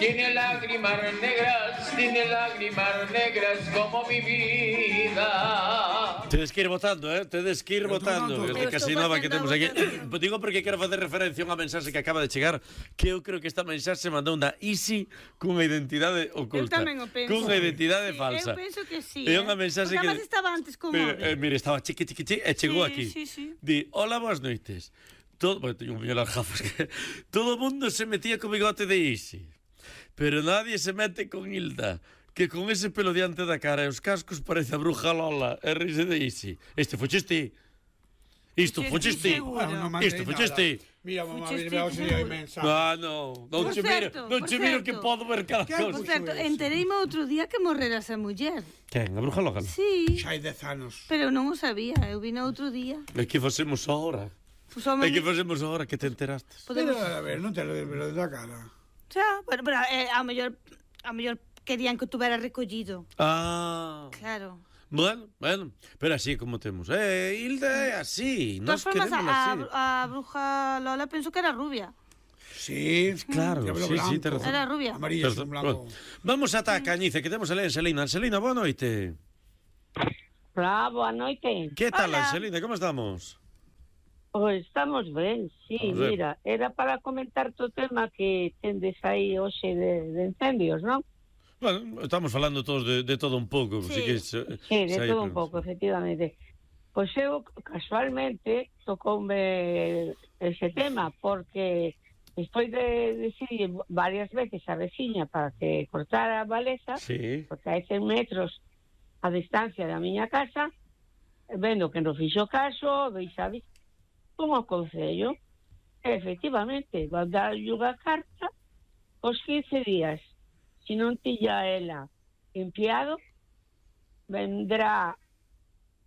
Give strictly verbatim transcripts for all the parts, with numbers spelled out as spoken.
Tiene lágrimas negras, tiene lágrimas negras como mi vida. Tedes que ir votando, eh? Tedes que ir votando. Este casi nova que temos aquí. Digo porque quero facer referencia a unha mensaxe que acaba de chegar, que eu creo que esta mensaxe mandou unha Isi cunha identidade oculta. Eu tamén o penso. Cunha identidade falsa. Eu penso que sí. É unha mensaxe que... Porque estaba antes con Mire, móvil. eh, mire, estaba chiqui, chiqui, chiqui, e chegou aquí. Sí, sí, sí. Di, hola, boas noites. Todo... Bueno, teño un millón de gafas que... Todo o mundo se metía co bigote de Isi. Pero nadie se mete con Hilda, que con ese pelo diante da cara e os cascos parece a bruja Lola e rise de Isi. Este foches ti. Isto foches ti. Isto foches ti. Mira, mamá, mira, se lle mensaje. Ah, no, non che miro, non che miro que podo ver cada cosa. Por certo, entereime outro día que morrera esa muller. Quen, a bruja Lola? Sí. Xa hai dez anos. Pero non o sabía, eu vino outro día. E que facemos ahora? Pues, home, E que facemos ahora que te enterastes? Pero, a ver, non te lo velo da cara. Xa, bueno, pero eh, a mellor a mellor querían que tuvera recollido. Ah. Claro. Bueno, bueno, pero así como temos. Eh, Hilda é así, nos queremos así. A, a bruja Lola penso que era rubia. Sí, claro, sí, sí, te razón. Era rubia. Amarilla, un blanco. Vamos ata a Cañice, que temos a Anselina. Anselina, boa noite. Hola, boa noite. Que tal, Hola. Anselina, como estamos? Pois estamos ben, sí, mira, era para comentar o tema que tendes aí hoxe de, de incendios, non? Bueno, estamos falando todos de, de todo un pouco. Sí, así que, sí, de todo un pouco, efectivamente. Pois eu, casualmente, tocoume ese tema, porque despois de decidir varias veces a veciña para que cortara a baleza, sí, porque hai cen metros a distancia da miña casa, vendo que non fixo caso, deixa un ao Concello, efectivamente, va dar unha carta os quince días. Se non tilla ela limpiado, vendrá,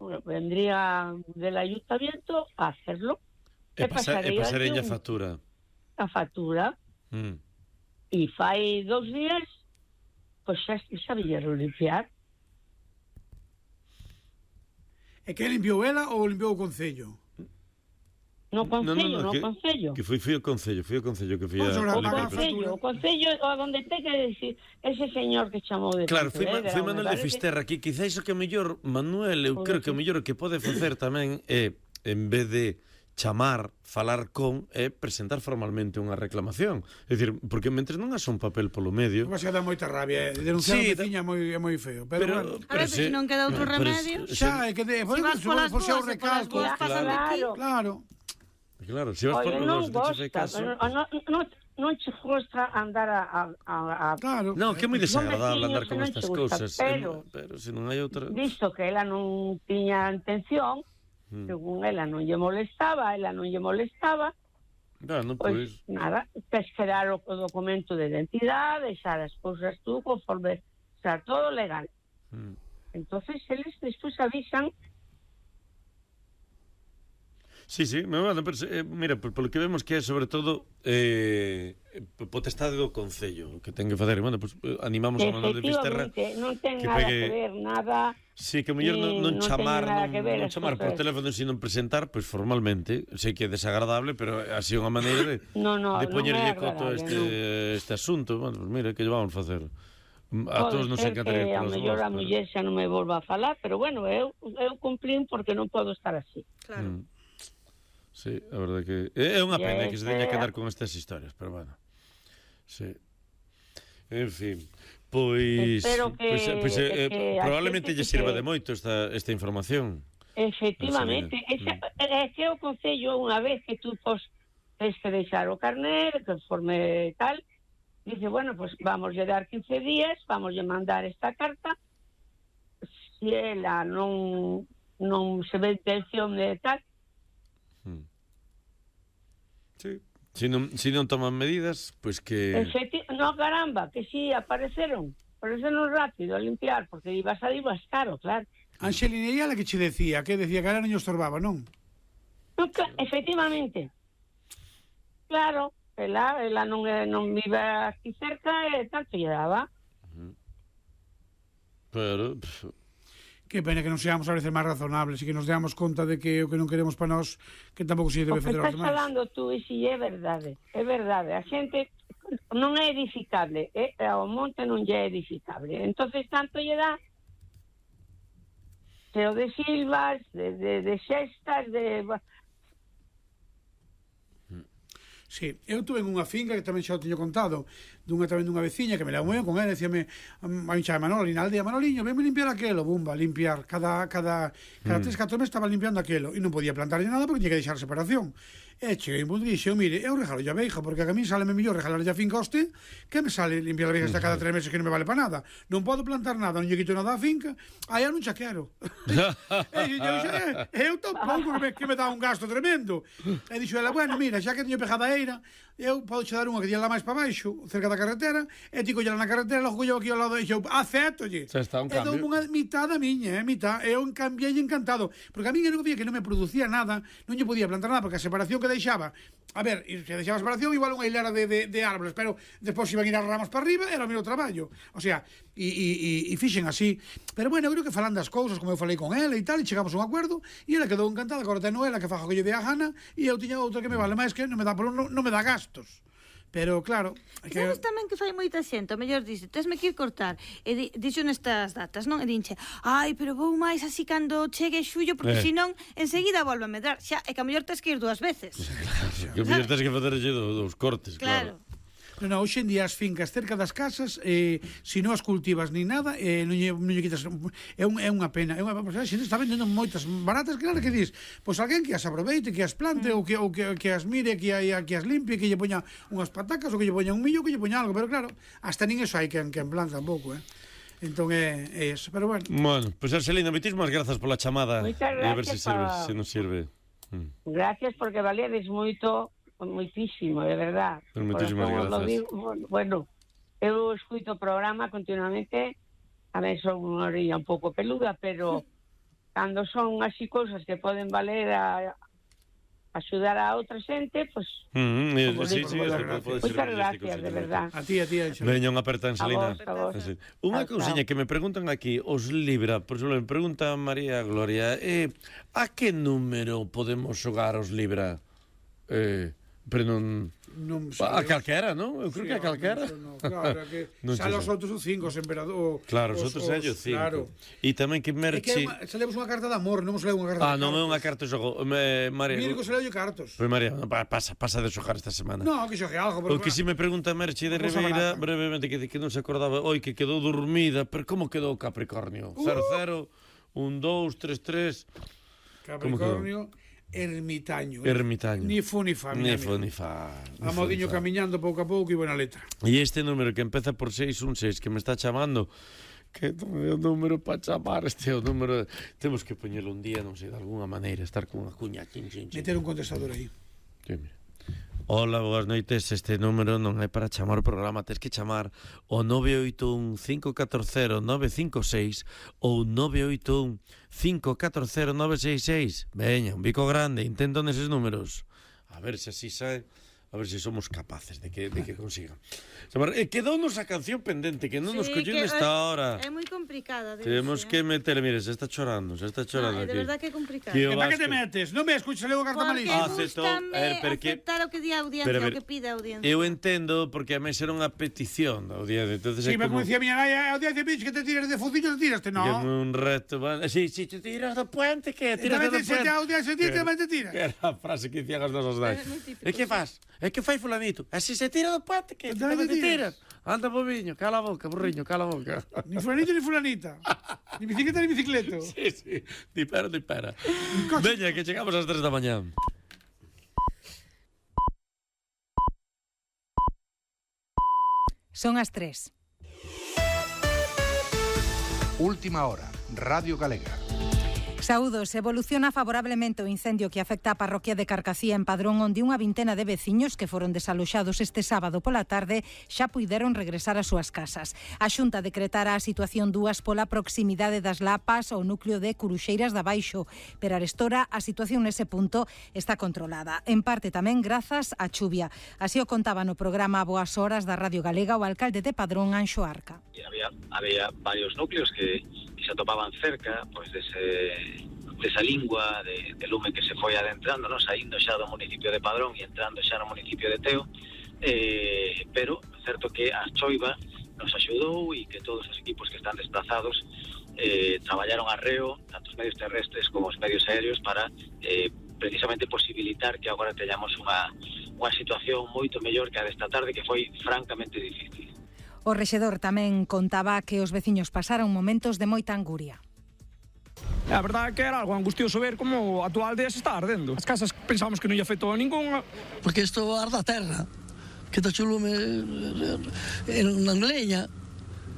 bueno, vendría del ayuntamiento a hacerlo. E, pasa, e pasareña a factura. A factura. Mm. E fai dos días, pois xa sabían limpiar. E que limpiou ela ou limpiou o Concello? No Concello, no, no, no que, Concello. Que foi, foi o Concello, foi o Concello que foi a... O Concello, o Concello, onde ten que decir ese señor que chamou de... Claro, foi, foi Manuel de Fisterra aquí, quizás o que mellor, Manuel, eu creo que o mellor que pode facer tamén é, en vez de chamar, falar con, é presentar formalmente unha reclamación. É dicir, porque mentres non haxa un papel polo medio... Vai ser dar moita rabia, eh? Denunciar sí, a veciña é moi, é moi feo. Pero, pero, bueno, a ver, se non queda outro remedio... Xa, é que... De, si vas polas dúas, o recalco. Claro, claro. Claro, se vas por los dos, te caso. Non, non, non che gusta andar a... a, a claro. No, que é moi desagradable no andar con estas cousas. Pero, pero se non hai outra... Visto que ela non tiña intención, mm. según ela non lle molestaba, ela non lle molestaba, bueno, pois, pues, nada, tes que dar o documento de identidade, deixar as cousas tú conforme sea todo legal. Mm. Entonces, eles despois avisan. Sí, sí, bueno, pero, eh, mira, polo que vemos que é sobre todo eh, potestade do Concello que ten que facer, bueno, pues, animamos a Manuel de Fisterra non ten que nada pegue... que ver, nada. Sí, que o mellor non, non, non chamar non, non chamar por teléfono, sino presentar, pois pues, formalmente, sei que é desagradable, pero así é unha maneira de, no, no, de poñerlle no coto a este, no. este asunto. Bueno, pues mira, que lle vamos facer. A todos nos encantaría que a mellor a muller xa non me volva a falar, pero bueno, eu, eu cumplín porque non podo estar así. Claro. Mm. Sí, a verdade que é unha pena que se teña que dar con estas historias, pero bueno. Sí. En fin, pois Espero que, pois, pois eh, que probablemente lle sirva que... de moito esta esta información. Efectivamente, esa, é que o Concello unha vez que tú pos tens que deixar o carnet, conforme tal, dice, bueno, pues vamos a dar quince días, vamos a mandar esta carta. Si ela non non se ve intención de tal, sí. Si non, si non toman medidas, pois pues que... Efecti... No, caramba, que si apareceron. Apareceron rápido a limpiar, porque ibas a ir más caro, claro. Anxelina, e ela que che decía? Que decía que ela non estorbaba, non? No, efectivamente. Claro, ela, ela non, non vive aquí cerca e tanto lle daba. Pero... Que pena que non seamos a veces máis razonables e que nos deamos conta de que o que non queremos para nós que tampouco se debe O que facer aos estás demais. falando tú, e si é verdade, é verdade. A xente non é edificable, é, o monte non lle é edificable. Entonces tanto lle dá se o de silvas, de, de, de xestas, de... Sí, eu tuve en unha finca que tamén xa o teño contado, dunha tamén dunha veciña que me levou moi ben con ela, decíame a mi chama Manoli, na aldea, Manoliño, venme limpiar aquelo, bumba, limpiar, cada cada cada tres, catro meses estaba limpiando aquelo, e non podía plantarlle nada porque tiña que deixar separación. E cheguei un punto e dixo, mire, eu regalo a veiga, porque a mí sale mellor regalar a finca a este, que me sale limpiar a veiga hasta cada tres meses que non me vale para nada. Non podo plantar nada, non lle quito nada á finca, aí eu non xa quero. E dixo, eu tampouco que me, que me dá un gasto tremendo. E dixo ela, bueno, mira, xa que teño pejada eira, eu podo che dar unha que tiña lá máis para baixo, cerca da carretera, e ti collala na carretera, logo colleu aquí ao lado, e dixo, aceptolle. Xa está, un e dou cambio. unha mitad a miña, eh, mitad, e eu cambiei encantado, porque a miña non vía que non me producía nada, non lle podía plantar nada, porque a separación que deixaba, a ver, e se deixaba a separación, igual unha hilera de, de, de árboles, pero despois iban ir as ramas para arriba, era o meu traballo, o sea, e, e, e, e fixen así, pero bueno, eu creo que falan das cousas, como eu falei con ela e tal, e chegamos a un acuerdo, e ela quedou encantada, agora ten ela que faja que lle dé a gana, e eu tiña outra que me vale máis que non me dá, non, non me dá gastos. Pero claro, E sabes tamén que fai moita xente, o mellor dice, tesme que ir cortar, e di, dixo nestas datas, non? E dinche, ai, pero vou máis así cando chegue xullo, porque Eh. senón enseguida volve a medrar, xa, e que a mellor tes que ir dúas veces. Que o mellor tens que facer dos cortes, claro. Claro. non, non, hoxe en día as fincas cerca das casas, eh, se non as cultivas nin nada, eh, non, lle, non lle quitas, é, un, é unha pena, é unha pena, a xente está vendendo moitas baratas, claro que dis, pois alguén que as aproveite, que as plante, mm. ou, que, ou que, que as mire, que, hai, que as limpie, que lle poña unhas patacas, ou que lle poña un millo, que lle poña algo, pero claro, hasta nin eso hai que, que en planta tampouco, eh. Entón é, é eso, pero bueno. Bueno, pois pues, Arcelina, moitísimas grazas pola chamada. Moitas E a ver se gracias sirve, pa- se nos sirve. Mm. Gracias porque valedes moito, moitísimo, de verdad. Pues moitísimas Como lo grazas. digo, bueno, eu escuito o programa continuamente, a ver, son unha orilla un pouco peluda, pero cando son así cousas que poden valer a axudar a outra xente, pois Mm, eh, Como sí, digo, sí, moitas eso pode- pode moitas ser gracias, de verdad. A ti, a ti, Anxo. Veña unha aperta, Angelina. A vos, a vos. Así. Unha Chao, cousiña chao. que me preguntan aquí, os Libra, por exemplo, me pregunta María Gloria, eh, a que número podemos xogar os Libra? Eh, pero non... Non A sei. calquera, non? Eu creo que a calquera. No, claro, que Non xa sei. os outros son cinco, os emperador. Claro, os outros é o cinco. Claro. E tamén que É que merche... é unha, xa lemos unha carta de amor, non se leu unha carta Ah, de non é cartas. unha carta de xogo. Me, María... Mira que se leu cartos. Pois María, pa- pasa, pasa de xogar esta semana. No, que xogue algo, O porque que si me pregunta Merche de Cosa Ribeira, barata. brevemente, que, que non se acordaba, oi, que quedou dormida, pero como quedou Capricornio? cero cero, un dous, tres tres... Capricornio, ermitaño. Ermitaño. Ni fu ni fa. Ni fo ni fa. A modiño camiñando pouco a pouco e buena letra. E este número que empeza por seis un seis que me está chamando, que non é o número para chamar, este é o número... Temos que poñelo un día, non sei, de alguna maneira, estar con unha cuña, chin, chin, chin. Meter un contestador aí. Sí, mira. Hola, boas noites, este número non é para chamar o programa, tes que chamar o nove oito un, cinco catro cero, nove cinco seis ou nove oito un, cinco catro cero, nove seis seis. Veña, un bico grande, intento neses números. A ver se así sae, a ver se somos capaces de que, de que consigan. E quedounos a canción pendente, que non nos Sí, colleu que nesta é- hora. É moi complicada. de Temos ese, que eh. meter, mire, se está chorando, se está chorando No, é de aquí. verdad que é complicado. Que E o para que te Vasco- metes? Non me escuchas, leo a carta Porque malísima. Ah, aceptou. gustame A ver, pero que- aceptar o que di a audiencia, Pero, a o ver, que pide a audiencia. Eu entendo, porque a mí era unha petición da audiencia, entonces Sí, é pero como... como decía miña nai, ao día de que te tires de fucillo, te tiraste, Que é no. un reto, bueno, si, si te tiras do puente, que E tiras tamén do te puente. ao día seguinte, tamén te tiras. Que era a frase que dicían as nosas nais. É moi típico, E que sí. fas? E que fai fulanito? E se se tira do puente, que Tamén tamén te te tiras. tiras. Anda, bobiño, cala a boca, burriño, cala a boca. Ni fulanito ni fulanita. Ni bicicleta ni bicicleto. Sí, sí, ni pera, ni pera. Veña, que chegamos ás tres da mañá. Son as tres. Última hora, Radio Galega. Saúdos, evoluciona favorablemente o incendio que afecta a parroquia de Carcacía en Padrón, onde unha vintena de veciños que foron desaloxados este sábado pola tarde xa puideron regresar ás súas casas. A Xunta decretara a situación dúas pola proximidade das Lapas ao núcleo de Curuxeiras da Baixo, pero arestora a situación nese punto está controlada, en parte tamén grazas á chuvia. Así o contaba no programa Boas Horas da Radio Galega o alcalde de Padrón, Anxo Arca. Había, había varios núcleos que, que que se atopaban cerca pois dese, desa lingua de, de lume que se foi adentrando, non? Saindo xa do municipio de Padrón e entrando xa no municipio de Teo, eh, pero certo que a choiva nos axudou e que todos os equipos que están desplazados eh, traballaron arreo, tanto os medios terrestres como os medios aéreos, para eh, precisamente posibilitar que agora teñamos unha, unha situación moito mellor que a desta tarde, que foi francamente difícil. O rexedor tamén contaba que os veciños pasaron momentos de moita anguria. A verdade é que era algo angustioso ver como a tua aldea se está ardendo. As casas pensábamos que non lle afectou a ningunha. Porque isto arda a terra, que está chulume en leña.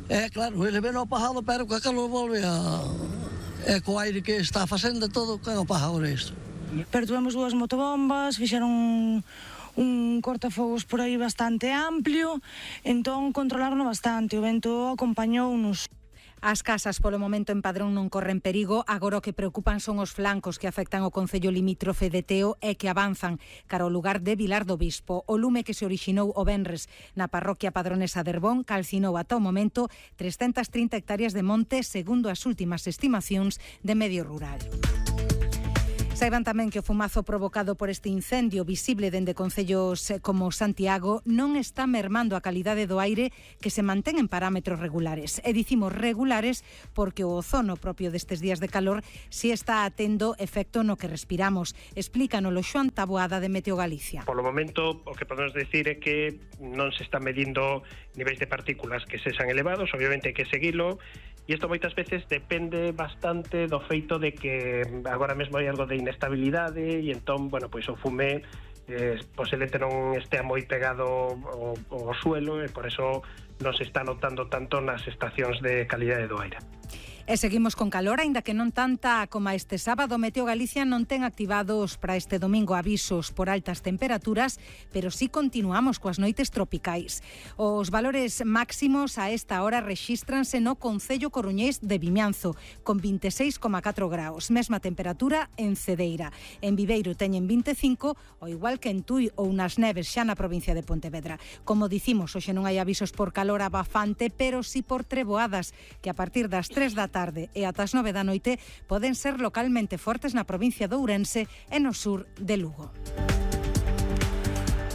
É claro, ele ven ao pajado, pero que a calor volve a... É co aire que está facendo todo, que é o pajado isto. Pero tuvemos dúas motobombas, fixeron un, un cortafogos por aí bastante amplio, entón controlaron bastante, o vento acompañounos. As casas polo momento en Padrón non corren perigo, agora o que preocupan son os flancos que afectan o concello limítrofe de Teo e que avanzan cara ao lugar de Vilar do Bispo. O lume que se orixinou o venres na parroquia padronesa de Herbón calcinou ata o momento trescentas trinta hectáreas de monte, segundo as últimas estimacións de Medio Rural. Saiban tamén que o fumazo provocado por este incendio visible dende concellos como Santiago non está mermando a calidade do aire, que se mantén en parámetros regulares. E dicimos regulares porque o ozono propio destes días de calor si está atendo efecto no que respiramos. Explícanolo Xoan Taboada de Meteo Galicia. Polo momento o que podemos decir é que non se están medindo niveis de partículas que sexan elevados, obviamente hai que seguilo. E isto moitas veces depende bastante do feito de que agora mesmo hai algo de inestabilidade e entón, bueno, pois o fume eh, posiblemente non estea moi pegado ao, ao suelo e por eso non se está notando tanto nas estacións de calidade do aire. E seguimos con calor, aínda que non tanta como este sábado. Meteo Galicia non ten activados para este domingo avisos por altas temperaturas, pero sí continuamos coas noites tropicais. Os valores máximos a esta hora rexístranse no concello coruñés de Vimianzo, con vinte e seis coma catro graus. Mesma temperatura en Cedeira. En Viveiro teñen vinte e cinco, ao igual que en Tui ou nas Neves, xa na provincia de Pontevedra. Como dicimos, hoxe non hai avisos por calor abafante, pero sí por treboadas, que a partir das tres da tarde e ata as nove da noite poden ser localmente fortes na provincia de Ourense e no sur de Lugo.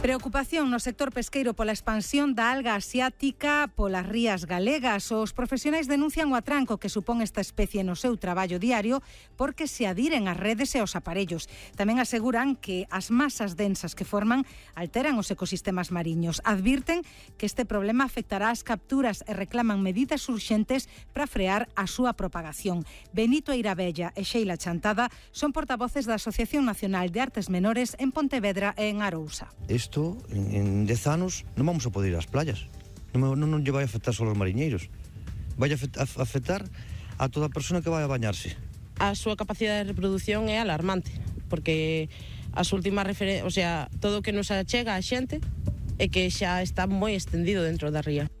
Preocupación no sector pesqueiro pola expansión da alga asiática polas rías galegas. Os profesionais denuncian o atranco que supón esta especie no seu traballo diario porque se adiren as redes e os aparellos. Tamén aseguran que as masas densas que forman alteran os ecosistemas mariños. Advirten que este problema afectará as capturas e reclaman medidas urxentes para frear a súa propagación. Benito Eirabella e Sheila Chantada son portavoces da Asociación Nacional de Artes Menores en Pontevedra e en Arousa. Isto, en dez anos, non vamos a poder ir ás playas. Non, non, non lle vai afectar só aos mariñeiros. Vai a afectar a toda a persona que vai a bañarse. A súa capacidade de reproducción é alarmante, porque as últimas referencias, o sea, todo o que nos achega a xente é que xa está moi extendido dentro da ría.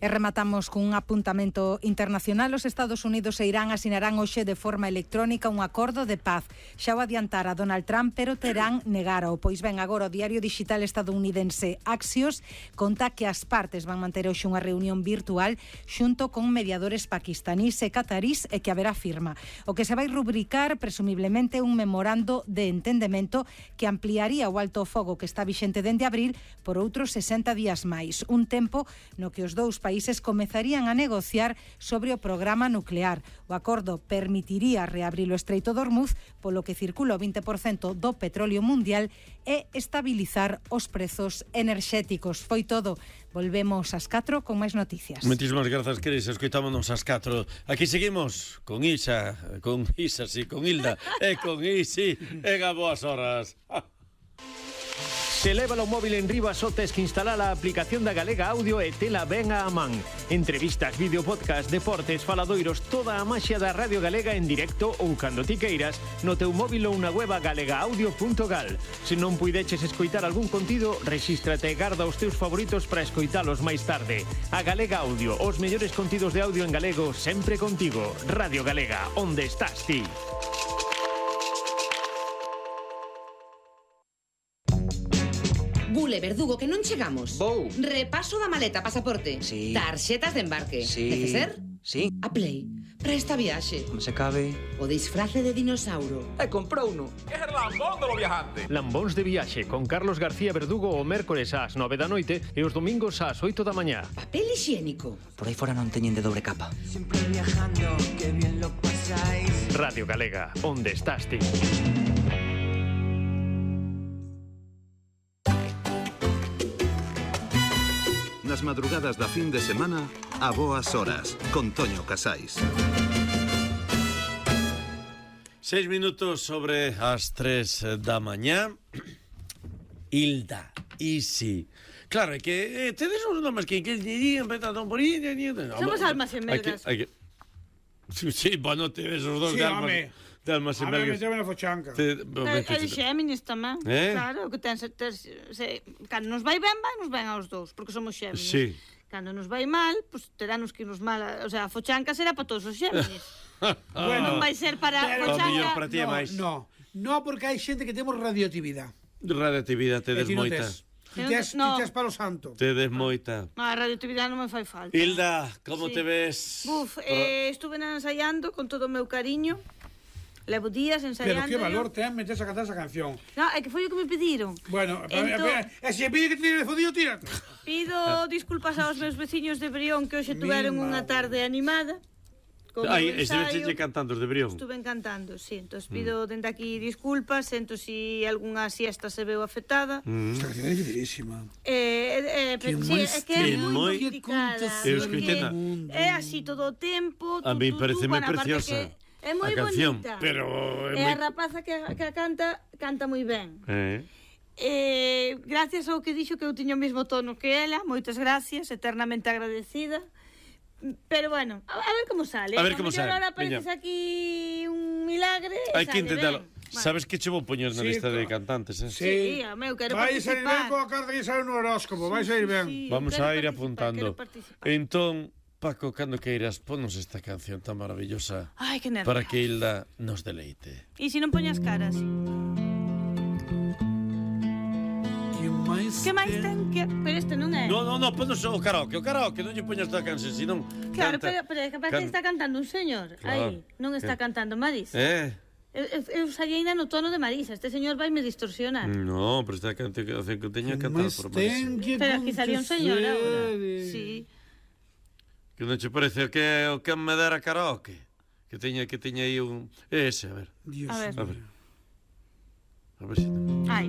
E rematamos cun apuntamento internacional. Os Estados Unidos e Irán asinarán hoxe de forma electrónica un acordo de paz. Xa o adiantara Donald Trump, pero terán negaro. Pois ben, agora o diario digital estadounidense Axios conta que as partes van manter hoxe unha reunión virtual xunto con mediadores paquistanís e catarís e que haberá firma. O que se vai rubricar presumiblemente un memorando de entendemento que ampliaría o alto fogo que está vixente dende abril por outros sesenta días máis. Un tempo no que os dous países países comezarían a negociar sobre o programa nuclear. O acordo permitiría reabrir o Estreito de Hormuz, polo que circula o vinte por cento do petróleo mundial e estabilizar os prezos enerxéticos. Foi todo. Volvemos ás catro con máis noticias. Moitísimas grazas, Cris. Escoitámonos ás catro. Aquí seguimos con Isa, con Isa, sí, con Hilda e con Isi en a boas horas. Se leva o móvil en riba só tes que instalar a aplicación da Galega Audio e tela ben a man. Entrevistas, vídeo, podcast, deportes, faladoiros, toda a maxia da Radio Galega en directo ou cando ti queiras no teu móvil ou na web galega audio punto gal. Se non puideches escoitar algún contido, rexístrate e garda os teus favoritos para escoitalos máis tarde. A Galega Audio, os mellores contidos de audio en galego sempre contigo. Radio Galega, onde estás ti? Bule, Verdugo, que non chegamos. Vou. Repaso da maleta, pasaporte. Sí. Tarxetas de embarque. Sí. Neceser? Sí. A Play. Para esta viaxe, Como se cabe... o disfrace de dinossauro. E comprouno. É el lambón de lo viajante. Lambóns de viaxe con Carlos García Verdugo o mércores ás nove da noite e os domingos ás oito da mañá. Papel higiénico. Por aí fora non teñen de dobre capa. Siempre viajando, que bien lo pasáis. Radio Galega, onde estás ti? Nas madrugadas da fin de semana, a boas horas, con Toño Casais. Seis minutos sobre as tres da mañá. Hilda, Isi. Claro, é que eh, tedes uns nomes que que dirían empezado por aí. Somos almas gemelas. Hai que Sí, sí, bueno, tedes os dos Sí, de almas. home. De almas A ver, gemelas. meteme na fochanca. Te- E de Xéminis tamén. Eh? Claro, que ten, ter, se, cando nos vai ben, vai nos ben aos dous, porque somos Xéminis. Sí. Cando nos vai mal, pues terános que nos mal, o sea, a fochanca será para todos os Xéminis. Bueno, non vai ser para a Pero- fochanca. O mellor para ti é No, máis. no, no, porque hai xente que temos radioactividade. Radioactividade tedes E ti non moita. tes. Ti Eu tes, no. ti tes palo santo. Tedes moita. No, a radioactividade non me fai falta. Hilda, como Sí. te ves? Buf, eh, estuve ensaiando con todo o meu cariño. Levo días Pero ensaiando. que valor ten meterse a cantar esa canción. No, é que foi o que me pediron. Bueno, Entón- e se pide que te tire de fodido, tírate. Pido disculpas aos meus veciños de Brión que hoxe tuveron Mi unha tarde animada. Con Ai, o estive ensaio. cantando os de Brión. Estuve cantando, sí. Entón pido dende aquí disculpas, sento si algunha siesta se veu afectada. Mm. Esta canción é dificilísima. Eh, eh, Que pero sí, máis é que é que moi moi- complicada. Eu escoitei porque na- É así todo o tempo. A mí tu, tu, tu, pareceme bueno, aparte preciosa que É moi a canción, bonita. pero é E a moi- rapaza que, que a canta, canta moi ben. Eh. Eh, gracias ao que dixo que eu tiño o mesmo tono que ela, moitas gracias, eternamente agradecida. Pero bueno, a, a ver como sale. A ver como mellor sale, Ahora apareces veña. aquí un milagre e Hai que sale intentalo. ben. Sabes que che vou poñer na Sí, lista de co- cantantes, eh? Sí, a meu, quero Vai sair ben participar. coa carta que sale no horóscopo, vai sair ben. Sí, Vamos quero a ir participar, apuntando. quero participar. Entón, Paco, cando queiras, ponos esta canción tan maravillosa Ai, que nervios. para que Hilda nos deleite. E se non poñas caras? Que máis ten que... Pero este non é. No, no, no, ponos o karaoke, o karaoke, non lle poñas toda a canción, senón Claro, canta. pero, pero é que parece que Can- está cantando un señor. Claro. Aí, non está Eh. cantando Marisa. Eh? Eu, eu, eu saí ainda no tono de Marisa. Este señor vai me distorsionar. No, pero esta canción que teña cantado por Marisa. Pero aquí salió un señor ahora. Sí. Que non che parece o que o que me dera karaoke? Que teña que teña aí un ese, a ver. Dios A ver. A ver. A ver se. Ai.